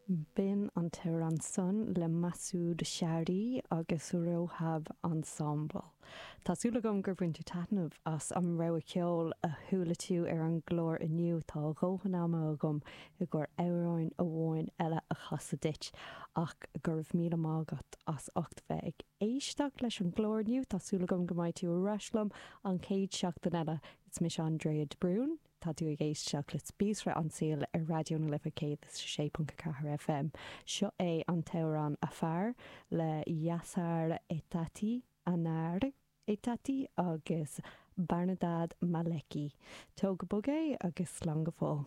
B'in an t-amhrán san le Masoud Shahri agus Rohab Ensemble. Tá súil agam gur bhain tú taitneamh as an rogha ceoil a chuala tú ar an gclár inniu. Tá a dhóthain ama agam i gcomhair amhráin amháin eile a chasadh duit ach go raibh míle maith agat as ucht bheith ag éisteacht leis an gclár inniu. Tá súil agam go mbeidh tú ar ais liom an chéad seachtain eile. Is mise Andrea de Brún. Tá tú ag éisteacht le Spíosra an tSaoil ar Raidió na Life 106.4 FM. Seo é an t-amhrán Afar le Yasar Etaati, Anar Etaati agus Behnadad Maleki. Tóg go bog é agus slán go fóill.